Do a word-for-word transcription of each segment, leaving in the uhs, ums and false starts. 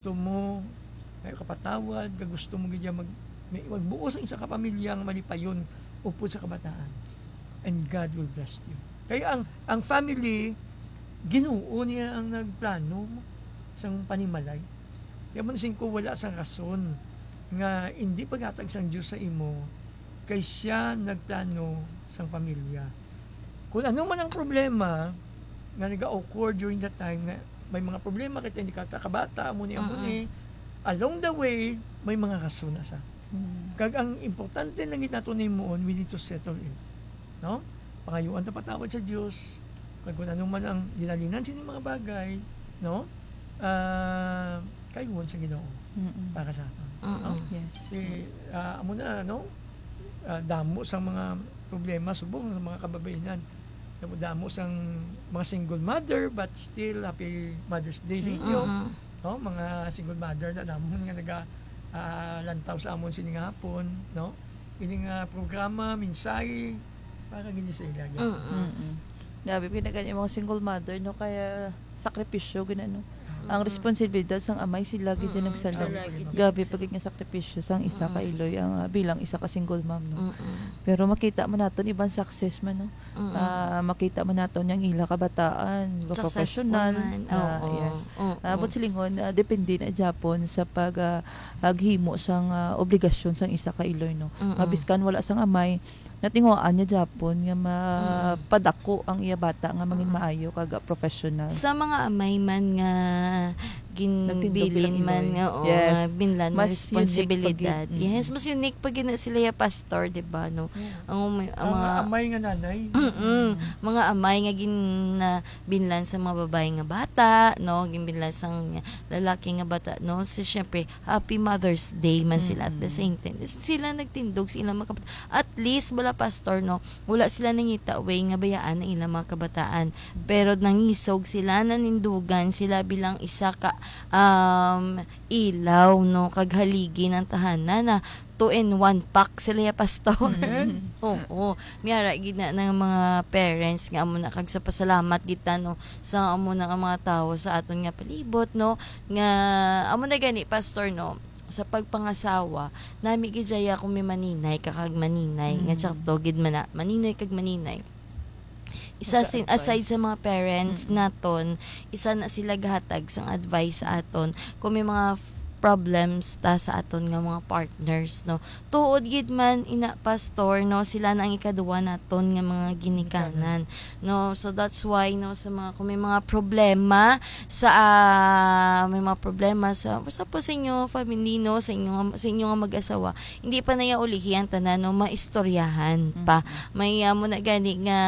gusto mo, may kapatawad, nga gusto mo gid mag, may, magbuo sa isa ka pamilya nga malipayon upod sa kabataan. And God will bless you. Kay ang, ang family, Ginoo niya ang nagplano sang panimalay. Kaya man singko, wala sang rason nga hindi paghatag sang Dios sa imo, kay siya nagplano sang pamilya. Kung ano man ang problema nga naga-occur during that time, nga may mga problema kita, hindi ka kabata, amo ni, amo Mm-mm. ni, along the way, may mga rason na sa. Mm. Kag ang importante lang gid nato ni muon, we need to settle it. No? Pangayuan ta patawad sa Dios. Kag kung ano man ang ginalinan sini mga bagay, no? Ah, kayuhon sa Ginoo Mm-mm. para sa aton. Mm-mm. No? Yes. Si, ah, amo na, no? Ah, damo sa mga problema subong sa mga kababainan. Damo, damo sang mga single mother, but still, happy Mother's Day sa inyo. Mm-mm. No, mga single mother na namon nga naga, ah, lantaw sa amon sini nga hapon, no? Ini nga programa, mensahe para gini sa ila. Mm-mm. Mm-mm. Grabe, pinagani mga single mother, no? Kaya sakripisyo, gina, no? Ang Mm-mm. responsibilidad sang amay, sila gid yung Mm-mm. nagsalag. Sila gid yung Grabe nagsalag. pa gid nga sakripisyo sang isa ka Mm-mm. iloy, ang, ah, bilang isa ka single mom, no? Mm-mm. Pero makita man naton iban success man, no? Mm-mm. Ah, makita man naton yang ila kabataan, Successful professional. man. Ah, Oo. yes. Oo. Ah, but silingon, ah, depende na gyapon sa pag, ah, paghimo sang, ah, obligasyon sang isa ka iloy, no? Mm-mm. Nga biskan wala sang amay, natinguhaan niya gyapon nga ma-, Mm. padako ang iya bata nga mangin Mm. maayo kag, ah, professional. Sa mga amay man nga Nagtindog ginbilin ilang man iloy. nga, oo, Yes. nga binlan nga Mas unique pa gid. responsibilidad. Mm. Yes, mas unique pa gid na sila ya pastor, di ba, no? Yeah. Ang may, ang Ang mga amay nga nanay. Mm-mm. Mm. Mga amay nga gin-, na binlan sa mga babae nga bata, no? Ginbinlan sa lalaki nga bata, no? So, syempre, happy Mother's Day man sila at the Mm-mm. same time. Sila nagtindog sa ilang mga kabat-, at least, bala, pastor, no? Wala sila nangita way nga bayaan ang ilang mga kabataan. Pero nangisog sila, nanindugan sila bilang isa ka, um, ilaw, no? Kag haligi ng tahanan na two in one pack sila ya, pastor. Mm. Oo. May ara gid na ng mga parents nga amo na kag sa pasalamat gid ta, no, sa amo na nga mga tawo sa aton nga palibot, no, nga amo na gani, pastor, no, sa pagpangasawa, nami gid siya kung may maninay ka kag maninay, nga Mm. sakto gid man na, maninoy kag maninay. Isa sin-, Nag-a-advise. aside sa mga parents Mm. naton, isa na sila gahatag sang advice sa aton kung may mga f-, problems ta sa aton nga mga partners, no. Tuod gid man ina, pastor, no, sila na ang ikaduwa naton nga mga ginikanan, Ginikanan. no. So that's why, no, sa mga, kung may mga problema sa, ah, may mga problema sa, sa po sa inyo family, no, sa inyo nga, sa inyo nga mag-asawa, hindi pa naya ulihi ang tanan, no, maistoryahan pa. Mm. May, ah, mo na gani nga,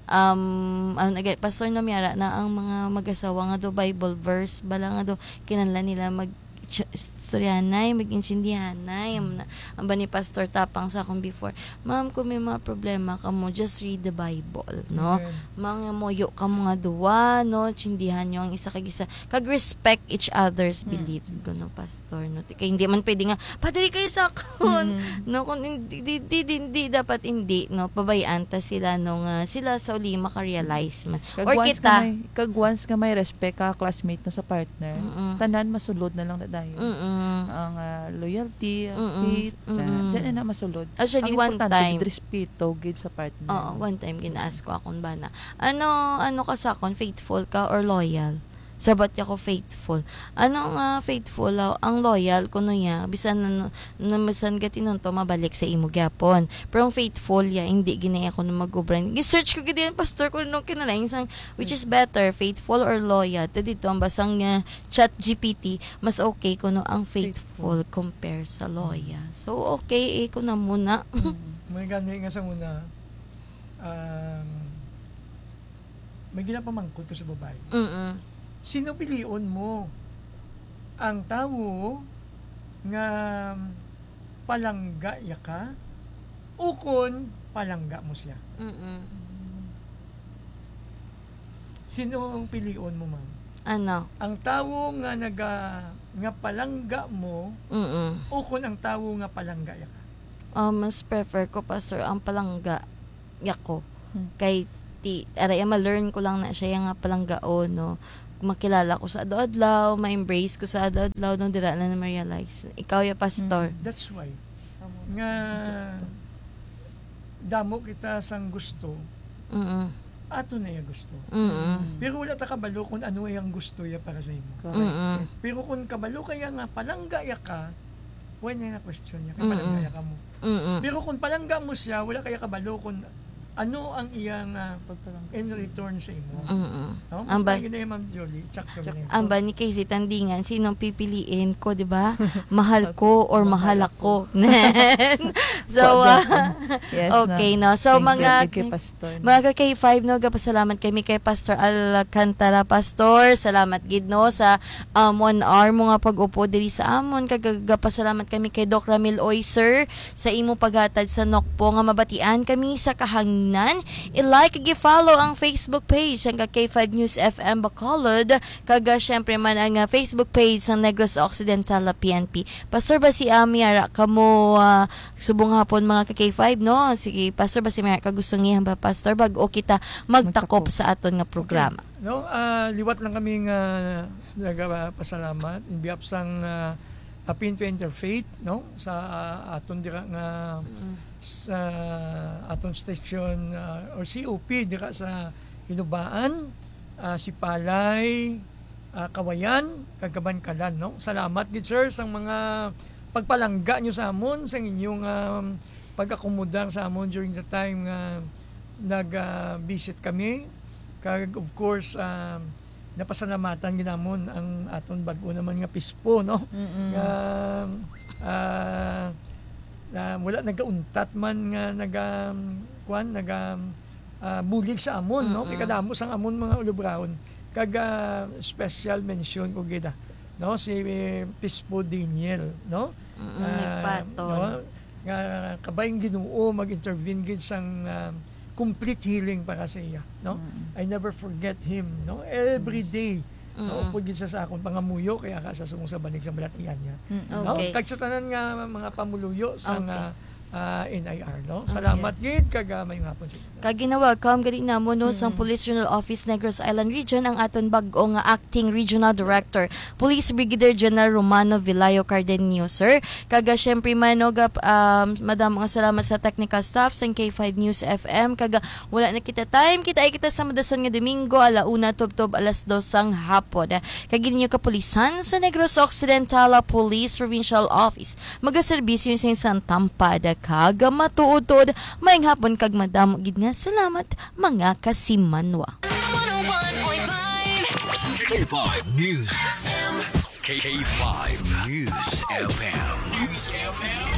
um, ano na gani, Pastor, no, may ara na ang mga mag-asawa nga do Bible verse, bala nga do, kinahanglan nila mag-, ch-, istoryahanay, mag-intindihanay. Ang, ang ba ni Pastor Tapang sa akong before, "Ma'am, kung may mga problema ka mo, just read the Bible," no? Amen. Mga muyo ka mga duwa, no? Tsindihan nyo ang isa kag isa. Kag respect each other's Mm. beliefs, no, Pastor, no? Kay hindi man pwede nga, "Padre, kayo sa akon." Mm. No, kung hindi, di, di, di, di, dapat hindi, no? Pabayaan ta sila, no, nga sila sa uli maka-realize man. Kag Or once kita. nga may, kag once nga may respect ka, classmate, no, sa partner, Mm-mm. tanan masulod na lang na dayon. Mm-mm. Ang, ah, loyalty, ang Mm-mm. faith, na, Mm-mm. dyan na masulod. Actually, Ang one importante, time, gid respeto, gid sa partner. Oo, one time, gina-ask ko akong bana, "Ano, ano ka sa akon? Faithful ka or loyal?" Sabat niya ko, "Faithful." "Ano nga faithful? Ah, ang loyal," kuno niya, "bisan na, na bisan gatinunto, mabalik sa imo gyapon. Pero ang faithful, ya, hindi gid na ako na mag-obra." Gi-search ko gid yan, Pastor, kung anong kinalain sang, which is better, faithful or loyal? Ta dito, ang basang, ah, Chat G P T, mas okay kuno ang faithful Faithful. compare sa loyal. So, okay, eh, kuno muna. Mm. May gani nga sa una, um, may ginapamangkot ko sa babae. Mm-mm. Sino pilion mo? Ang tawo nga palangga ya ka, ukon palangga mo siya? Mm-mm. Sino ang pilion mo, ma'am? Ano? Ang tawo nga naga-, nga palangga mo, Mm-mm. ukon ang tawo nga palangga ya ka? Ah, mas prefer ko, Pastor, ang palangga ya ko. Hmm. Kay ti-, aray, ma-learn ko lang na siya nga palanggaon, no? makilala ko sa adlaw-adlaw, ma-embrace ko sa adlaw-adlaw, no, dira na na-realize. Ikaw ya, Pastor. Mm. That's why nga damo kita sang gusto, Mm-mm. ato na iya gusto. Mm-mm. Pero wala ta kabalo kung ano iyang gusto ya para sa imo. Correct. Mm-mm. Pero kung kabalo kaya nga palangga ya ka, wala na question ya kay Mm-mm. palangga ya ka mo. Mm-mm. Pero kung palangga mo siya, wala kaya kabalo kung ano ang iyang, ah, Pagpalangga. in return sa imo. Mm-mm. No? Mas Ang ba- maigi na yan, Ma'am Jolie. Sakto na yun. Ang ba ni Casey Tandingan, sinong pipiliin ko, di ba? Mahal ko or Mahal mahal ako. ako? So, Kwa ah, dyan. Yes, okay, na. no? So, Thank you, mga, thank you, Pastor. mga ka K five, no, gapasalamat kami kay Pastor Alcantara. Pastor, salamat gid, no, sa, um, one hour mo nga pag-upo diri sa amon. Kag gapasalamat kami kay Doc Ramil Oy, sir, sa imo paghatag sa Nokpo nga mabatian kami sa kahangnan. I-like kag i-follow ang Facebook page sang ka K five News F M Bacolod, kag, ah, syempre man ang, ah, Facebook page sang Negros Occidental, ah, P N P. Pastor, basi, ah, may ara kamo, ah, subong hapon, mga ka K five, no? Sige, Pastor, basi may ara ka gusto nga ihambal, Pastor, bag-o kita magtakop Magtakop. sa aton nga Okay. programa. No, ah, liwat lang kami nga nagapasalamat in behalf sang, ah, Apinto Interfaith, no, sa, ah, aton dira nga Mm. sa aton station, ah, or C O P dira sa Hinubaan, ah, Sipalay, ah, Kawayan, kag Kabankalan, no. Salamat gid, sir, sang mga pagpalangga nyo sa amon, sang inyong, um, pag-akomodar sa amon during the time nga nag, ah, visit kami. Kag, of course, um, napasalamatan gid namon ang aton bag-o naman nga pispo, no? Mm-mm. Nga, ah, na wala nagauntat man nga naga, kuwan, naga, ah, bulig sa amon, no? Kay Mm-mm. kadamo sang amon mga ulubraon. Kag, ah, special mention ko gid, ah, no? Si Pispo Daniel, no? Mm-mm, Ah, nagpatol. no? Nga kabay ang Ginoo mag-intervene gid sang, ah, complete healing para sa iya, no? Mm. I never forget him, no? Every Mm. day, no? Mm. Upod gid sa, sa akong pangamuyo, kaya ka sa sumong sa banig sa balatian niya. Mm. No? Okay. Kag sa tanan nga mga pamuluyo sa Okay. nga, ah, N I R, no? Okay. Salamat gid, kag, ah, may ngapon sa inyo. Kag gina-welcome gani namo, no, sang Mm. Police Regional Office Negros Island Region ang aton bag-o nga Acting Regional Director, Police Brigadier General Romano Vilayo Cardenio, sir. Kag, ah, syempre man, no, gap-, um, madamo nga salamat sa technical staff sang K five News F M. Kag, ah, wala na kita time. Kita ay kita sa madason nga Domingo, ala una tubtob alas dos sang hapon. Kag ininyo kapulisan sa Negros Occidental Police Provincial Office. Magaserbisyo sa isang tampad kag matuod-tuod. Maayong hapon kag madamo gid nga salamat, mga kasimanwa. K five News. K five News F M. News F M.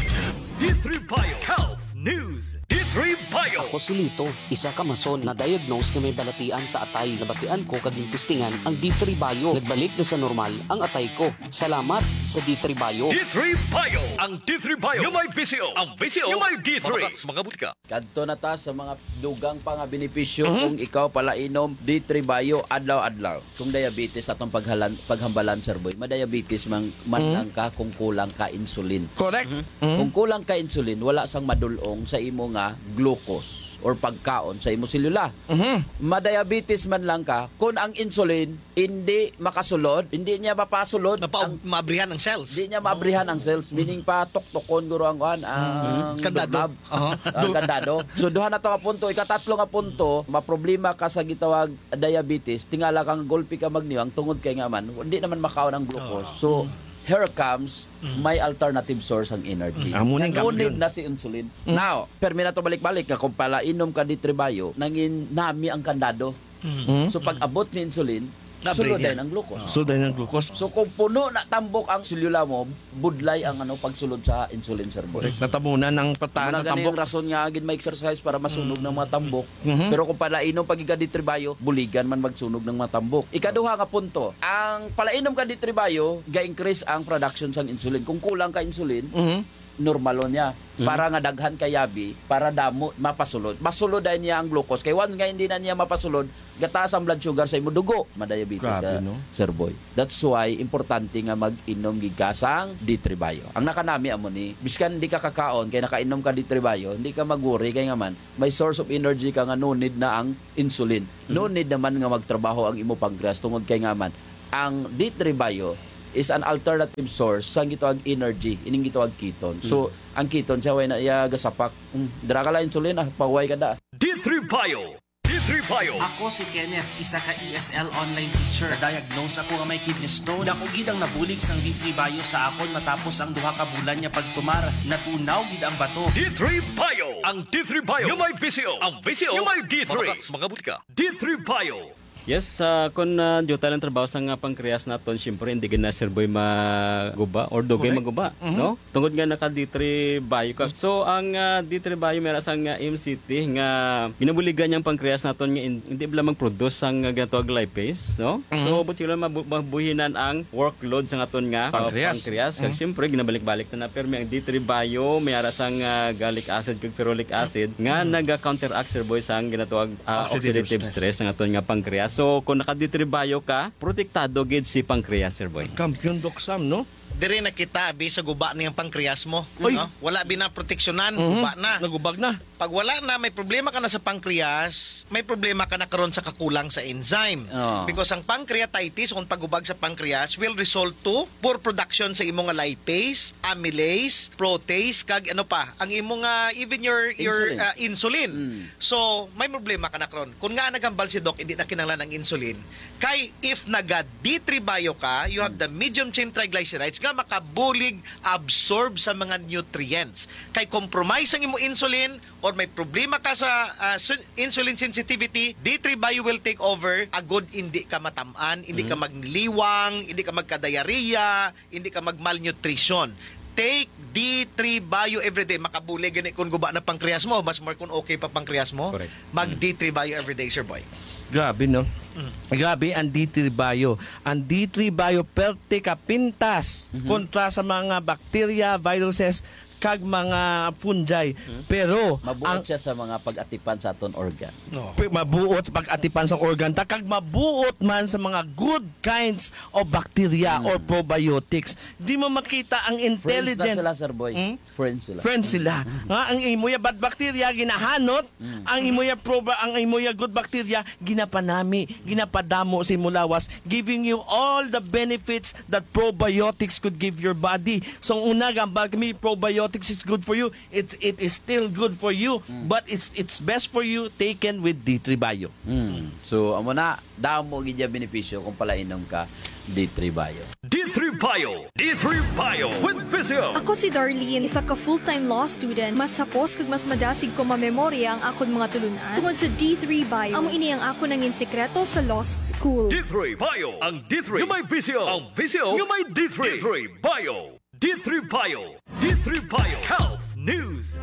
D three Bio Health News. D three Bio. Ako si Lito, isa ka mason na diagnose nga may balatian sa atay. Nabatian ko kag gintistingan ang D three Bio. Nagbalik na sa normal ang atay ko. Salamat sa D three Bio. D three Bio. Ang D three Bio nga may V C O. Ang V C O nga may D three. Mga butika. Kadto na ta sa mga dugang pa nga benepisyo Mhm. kung ikaw palainom D three Bio adlaw-adlaw. Kung diabetes atong paghalan-, paghambalan, Sir Boy, madiabetes man, man Mhm. lang ka kung kulang ka insulin. Correct. Mhm. Mhm. Kung kulang ka insulin, wala sang madul-ong sa imo nga glucose or pagkaon sa imo selula. Mhm. Madiabetes man lang ka, kung ang insulin hindi makasulod, hindi niya mapasulod Mapa-, ang maabrihan ang cells. Hindi niya maabrihan ang cells, Mhm. meaning patuktukon guro ang kuan, ang Mhm. Kandado. doorknob. Aha. Ang kandado. So, duha na to nga punto. Ikatatlo nga punto, maproblema ka sa gitawag diabetes, tingala kang gulpi ka magniwang tungod kay nga man, hindi naman makaon ang glucose. Oo. So, Mm. here comes Mm. my alternative source ang energy. Mm. Amo ni ang No need kampiyon. na si insulin. Mm. Now, permi na to balik-balik nga kung palainom ka D three Bio, nangin nami ang kandado. Mm. Mm. So, pag abot ni insulin, Nabre sulod niya. din ang glucose. Sulod din ang glucose. So, kung puno na tambok ang selula mo, budlay ang, ano, pagsulod sa insulin, Sir Boy. Correct. Natabunan ang pataas Muna sa gani tambok. ang rason nga gid may exercise para masunog Mm. ng mga tambok. Mhm. Pero kung palainom pag iga D three Bio, buligan man magsunog ng mga tambok. Ikaduha nga punto, ang palainom ka D three Bio, ga-increase ang production sang insulin. Kung kulang ka insulin, Mhm. Normalo niya. Mhm. Para nga daghan kayabi, para damo mapasulod. Masulod dayon niya ang glucose. Kay once nga hindi na niya mapasulod, gataas ang blood sugar sa imo dugo. Madiabetes Grabe, ka, no? Sir Boy. That's why importante nga mag-inom gid ka sang D three Bio. Ang nakanami amo ni, biskan di ka kakaon kay nakainom ka D three Bio, hindi ka mag-worry kay nga man may source of energy ka nga no need na ang insulin. No Mhm. need naman nga magtrabaho ang imo pancreas tungod kay nga man ang D three Bio is an alternative source sang gitawag energy, ining gitawag ketone. So, Mhm. ang ketone siya, way na iya gasapak. Mm, dira ka lang insulin, ah, pahuway ka da. D three Bio. D three Bio. Ako si Kenneth, isa ka E S L online teacher. Diagnose ako nga may kidney stone. Dako gid ang nabulig sang D three Bio sa akon matapos ang duha ka bulan nga pagtumar. Natunaw gid ang bato. D three Bio. Ang D three Bio nga may visyo. Ang visyo nga may D three. Mga butika. D three Bio. Yes, ah, kung, ah, duty lang trabaho sa nga pancreas naton, siyempre, hindi gid na, Sir Boy, maguba or dugay Correct. maguba, Mhm. no? Tungod nga naka D three Bio ka. So, ang, ah, D three Bio may ra sang, ah, M C T nga ginabuligan niyang pancreas naton nga in-, hindi bala mag-produce sang, ah, ginatawag lipase, no? Mhm. So, but sila mabu-, mabuhinan ang workload sa aton nga, ah, Pancreas. pancreas. Kag Mhm. siyempre, ginabalik-balik na na, pero may ang D three Bio, may ara sang, ah, gallic acid kag ferulic acid nga Mhm. naga-counteract, Sir Boy, sang ginatawag, ah, Oxidative oxidative stress. stress ang aton nga pancreas. So, kung naka D three Bio ka, protektado gid si pancreas, Sir Boy. Kampiyon, Doc Sam, no? Diri na kita, abi, sa guba niyang pancreas mo, Oy. no? Wala binaproteksyonan, Mhm. guba na. Nagubag na. Pag wala na, may problema ka na sa pancreas, may problema ka na karon sa kakulang sa enzyme. Oh. Because ang pancreatitis, kung pagubag sa pancreas, will result to poor production sa imo nga lipase, amylase, protease, kag ano pa, ang imo nga, even your, your, Insulin. ah, insulin. Mm. So, may problema ka na karon. Kung nga naghambal si Doc, hindi na kinahanglan ang insulin. Kay, if naga D three Bio ka, you have Mm. the medium chain triglycerides nga makabulig absorb sa mga nutrients. Kay compromise ang imo insulin or may problema ka sa, ah, sun-, insulin sensitivity, D three Bio will take over. Agod hindi ka matam-an, hindi ka Mm. magliwang, hindi ka magka-diarrhea, hindi ka mag-malnutrition. Take D three Bio everyday. Makabulig gani kung guba na pancreas mo, mas more kung okay pa pancreas mo. Correct. Mag Mm. D three Bio everyday, Sir Boy. Grabe, no? Mm. Grabe ang D three Bio. Ang D three Bio, perte ka pintas Mhm. kontra sa mga bacteria, viruses, kag mga fungi. Mhm. Pero Mabuot ang siya sa mga pag-atipan sa aton organ. No. Pi-, mabuot sa pag-atipan sa organ ta, kag mabuot man sa mga good kinds of bacteria Hmm. or probiotics. Di mo makita ang Friends na intelligence. sila, Sir Boy. Hmm? Friends sila. Friends sila. Hmm. Nga ang imo ya bad bacteria ginahanot, Hmm. ang imo ya proba-, ang imo ya good bacteria ginapanami, ginapadamo sa imo lawas, giving you all the benefits that probiotics could give your body. So, ang una, gambal kami, probiotics is good for you. It, it is still good for you, Mm. but it's, it's best for you taken with D three Bio. Mm. So, amo na, damo gid ya benepisyo kung palainom ka D three Bio. D three Bio. D three Bio with Visio. Ako si Darlene, isa ka full-time law student. Mas hapos kag mas madasig ko mamemorya ang akon mga tulunan tungod sa D three Bio. Amo ini ang akon nangin sikreto sa law school. D three Bio. Ang D three nga may visyo. Ang visyo nga may D three. D three Bio. D three Bio. D three Bio. Health News.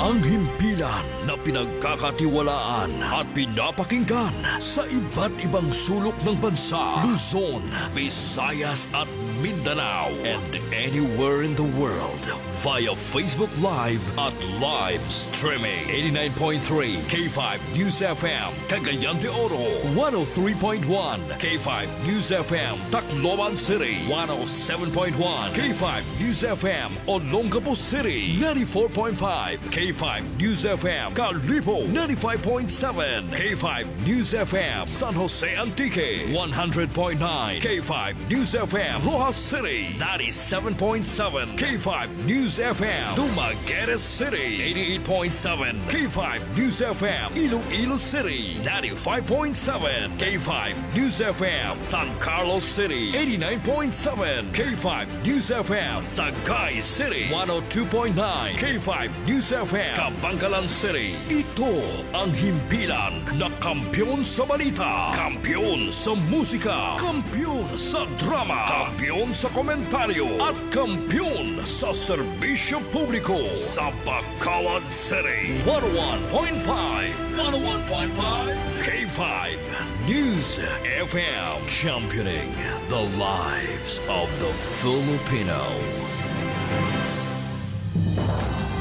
Ang himpilan na pinagkakatiwalaan at pinapakinggan sa iba't ibang sulok ng bansa, Luzon, Visayas at Mindanao, and anywhere in the world via Facebook Live at live streaming. Eighty-nine point three K five News F M, Cagayan de Oro, one oh three point one K five News F M, Tacloban City, one oh seven point one K five News F M, Olongapo City, ninety-four point five K five News F M, Kalibo, ninety-five point seven K five News F M, San Jose Antique, one hundred point nine K five News F M, Roxas City, ninety-seven point seven K five News F M, Dumaguete City, eighty-eight point seven K five News F M, Iloilo City, ninety-five point seven K five News F M, San Carlos City, eighty-nine point seven K five News F M, Sagay City, one oh two point nine K five News F M, Kabankalan City. Ito ang himpilan na kampiyon sa balita, kampiyon sa musika, kampiyon sa drama, kampiyon sa komentaryo, at kampiyon sa serbisyo publiko. Sa Bacolod City, one oh one point five, one oh one point five K five News F M, championing the lives of the Filipino.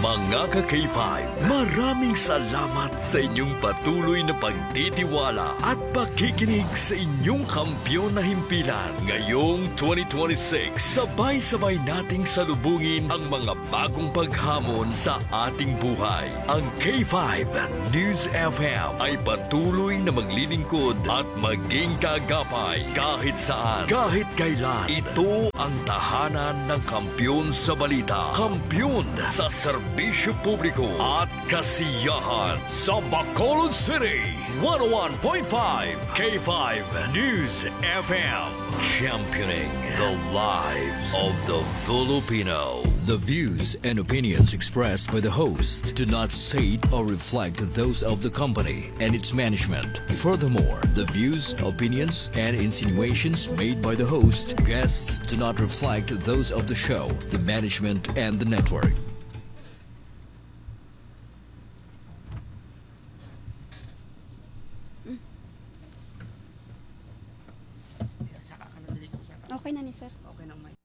Mga ka K five, maraming salamat sa inyong patuloy na pagtitiwala at pakikinig sa inyong kampiyon na himpilan. Ngayong twenty twenty-six, sabay-sabay nating salubungin ang mga bagong paghamon sa ating buhay. Ang K five News F M ay patuloy na maglilingkod at maging kaagapay kahit saan, kahit kailan. Ito ang tahanan ng kampiyon sa balita, kampiyon sa serbisyo publiko at kasiyahan. Sa Bacolod City, one oh one point five K five News F M. Championing the lives of the Filipino. The views and opinions expressed by the host do not state or reflect those of the company and its management. Furthermore, the views, opinions, and insinuations made by the host, guests do not reflect those of the show, the management, and the network. Saka ka na, dali ka, saka. Okay na ni sir. Okay na, Mike.